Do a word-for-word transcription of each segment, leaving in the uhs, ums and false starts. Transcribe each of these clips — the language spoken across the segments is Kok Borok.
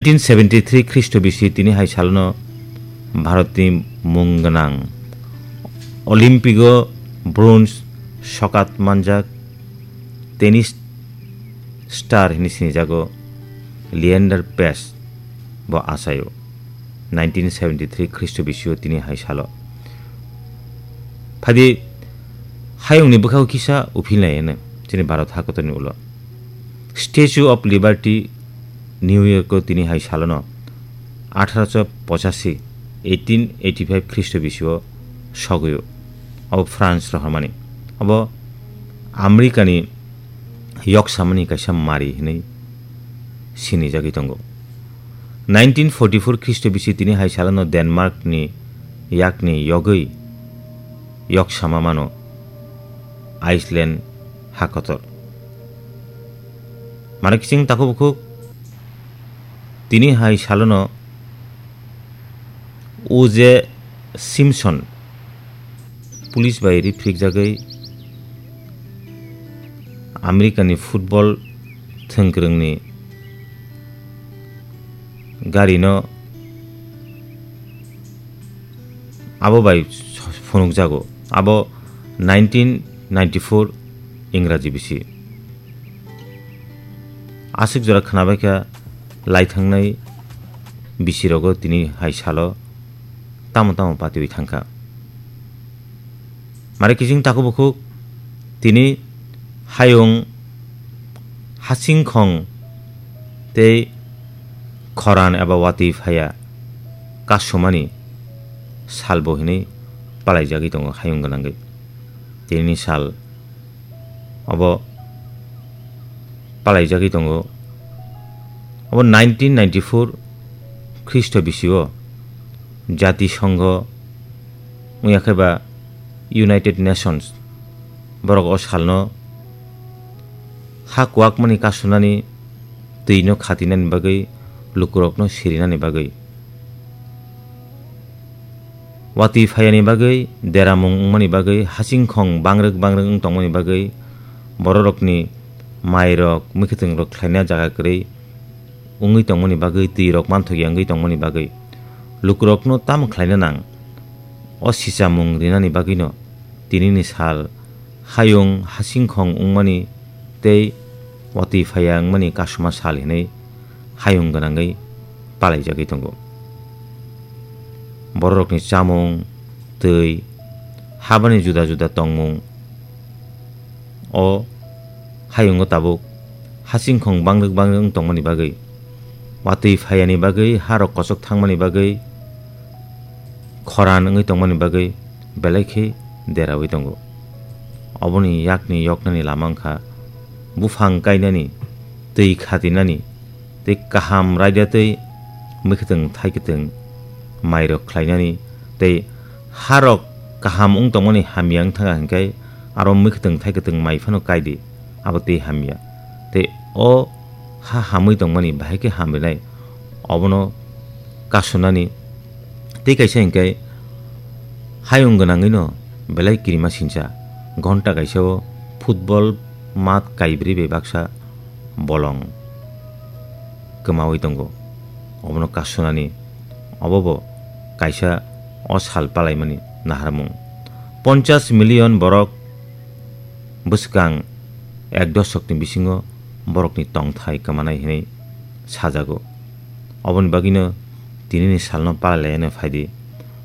Nineteen seventy three Khristo bisi tini hai salono Bharatni mung gwnang Olympigo bronze sokat manjak tennis star hini sinijago Leander Paes bo achaio. Nineteen seventy three Khristo bisio tini hai salo. Phadi hayungni bwkhao kisa uphilnai hino chini Bharat hakotorni ulo. Statue of Liberty, New Yorko tini hai salono atharo pochashi, eighteen eighty five Khristo bisio sogwio. Abo France rohormani. Abo Americani yok samani kaisa mari hinwi sinijagwi tongo. Nineteen forty four Khristo bisi tini hai salono Denmarkni yakni yogwi yok sama mano Iceland hakotor. Mano kiching takhuk bukhuk tini hai salono O J Simpson police bai riphrikjagwi Americani football thwngkwrwngni garino abo bai phunukjago. Abo nineteen ninety four Ingraji bisi. Aswk jora khwnabaikha laithangnai bisirogo tini hai salo tamo tamo patiwi thangkha. Mare kiching takhuk bukhuk tini hayung, hasingkhong tei khoran eba watwi phaya kasumani salbo hinwi palaijagwi tongo hayung gwnangwi. Tinini sal obo palaijagwi tongo. Obo nineteen ninety four Khristo bisio Jati Songho wngya khe ba United Nations borok o salno ha kuwakmani kasunani, twino khatinani bagwi, lukurokno sirinani bagwi, watwi phayani bagwi, deramung wngmani bagwi, hasingkhong bangrwk bangrwk wng tongmani bagwi, bororokni mairok, mwkhwtwngrok khlaina jaga kwrwi wngwi tongmani bagwi, twirok manthokya wngwi tongmani bagwi, lukurokno tamo khlaina nang? O sichamung rinani bagwino tinini sal hayung hasingkhong wngmani tei watwi phaya wngmani kasuma sal hinwi hayung gwnangwi palaijagwi tongo. Bororokni chamung, twi, habani juda juda tongmung o hayungo tabuk hasingkhong bangrwk bangrwk wng tongmani bagwi, watwi phayani bagwi, harok kochok thangmani bagwi, khoran wngwi tongmani bagwi belai khe deraui tongo. Oboni yakni yoknani lama wngkha buphang kainani, twi khatinani, tei kaham raida tei mwkhwtwng thaikwtwng mairok khlainani, tei harok kaham wng tongmani hamya wng thangkha hinkhe aro mwkhwtwng thaikwtwng mai phano kaidi, abo tei hamya. Tei o ha hamwi tongmani bahai khe hamrinai, obono kasunani. Tei kaisa hinkhe hayung gwnangwino belai kirima sincha, ghonta kaisa o football mat kaibrwi bai baksa bolong kwmaui tongo. Obono kasunani, obobo kaisa o sal palaimani naharmung. Ponchas million borok bwskang ek dosokni bisingo borokni tongthai kwmanai hinwi sajago. Oboni bagwino tinini salno palailaiyano phaidi.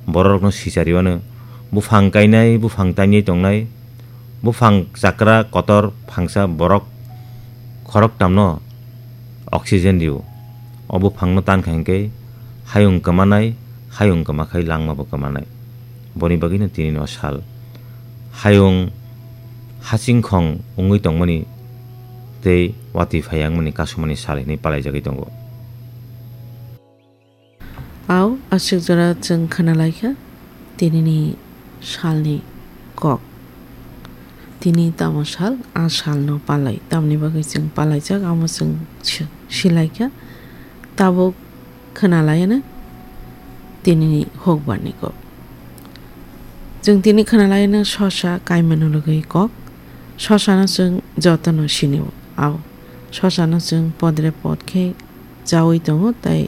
Bororokno sichariwano buphang kainai, buphang tainai tongnai, buphang chakra kotor phangsa borok khoroktamno oxygen rio. O buphangno tankha hinkhe hayung kwmanai, hayung kwmakhai langmabo kwmanai. Boni bagwino tinino sal hayung hasingkhong wngwi tongmani tei watwi phaya wngmani kasumani sal hinwi palaijagwi tongo. Au, aswk jora chwng khwnalaikha tinini salni kok. Tini tamo sal, a salno palai, tamni bagwi chwng palaijak, amo chwng si-, silaikha. Tabuk khwnalaiyano tinini hukbarni kok. Chwng tini khwnalaiyano sosa kaimano logwi kok. Sosano chwng jotono sinio. Au, sosano chwng podre pod khe chaui tongo, tai